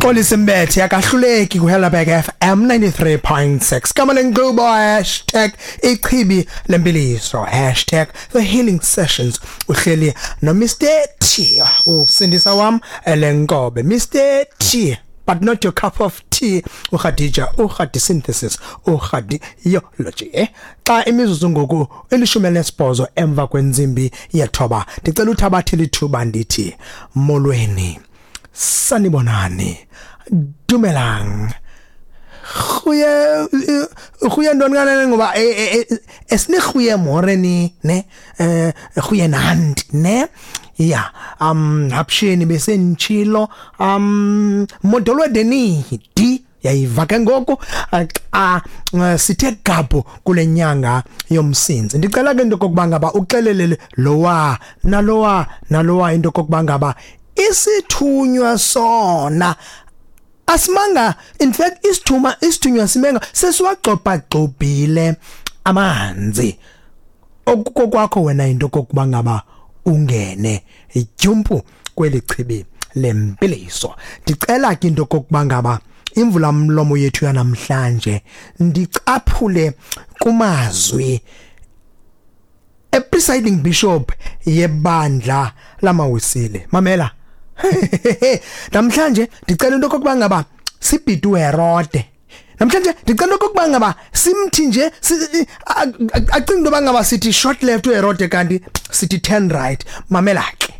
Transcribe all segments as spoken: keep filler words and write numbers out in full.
Xolisa Mbethe akahluleki ku Helderberg F M ninety-three point six. Gama lenkqubo hashtag ichibi lempiliso hashtag the healing sessions. Uhleli no Mister T, usindisa wam elenkobe Mister T, but not your cup of tea. uKhadija uKhadi synthesis uKhadiology. Eh xa imizuzu ngoku elishumi elinesibhozo emva kwenzimbi yethoba, ndicela uthabathe lithuba ndithi molweni, sanibonani, dumelang, goeie goeie ntoni kanene ngoba esine goeie ni ne eh goeie nand ne ya um hapsheni besenchilo um modolwedeni di yayiva ke ngoku xa sithe gabhu kule nyanga yomsinzi. Ndicela ke into kokuba ngaba uxelelele lowa nalowa nalowa into kokuba ngaba isithunywa sona asimanga, in fact isithuma isithunywa simenga sesiwagxobha gxobhile amanzi. Okukokwakho wena into kokuba ngaba ungene ityumpu kweli chibi lempiliso. Ndicela ke into kokuba ngaba imvula mlomo yethu yanamhlanje ndicaphule kumazwi e presiding bishop yebandla lamaWisile. Mamela namhlanje ndicela into kokuba ngaba sibhide uHerode. Namhlanje ndicela into kokuba ngaba simthi nje acinga into ngaba sithi short left uHerode kanti sithi turn right. Mamela ke,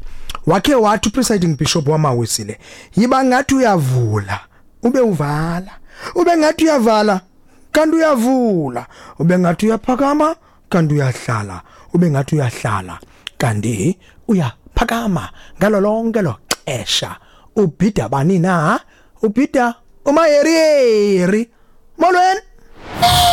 wakhe wathi presiding bishop wamaWisile, yiba ngathi uyavula ube uvala, ube ngathi uyavala kanti uyavula, ube ngathi uyaphakama kanti uyahlala, ube ngathi uyahlala kanti uyaphakama. Ngalo lonke lo xesha ubhida bani na? Ubhida umayerieri. Molweni.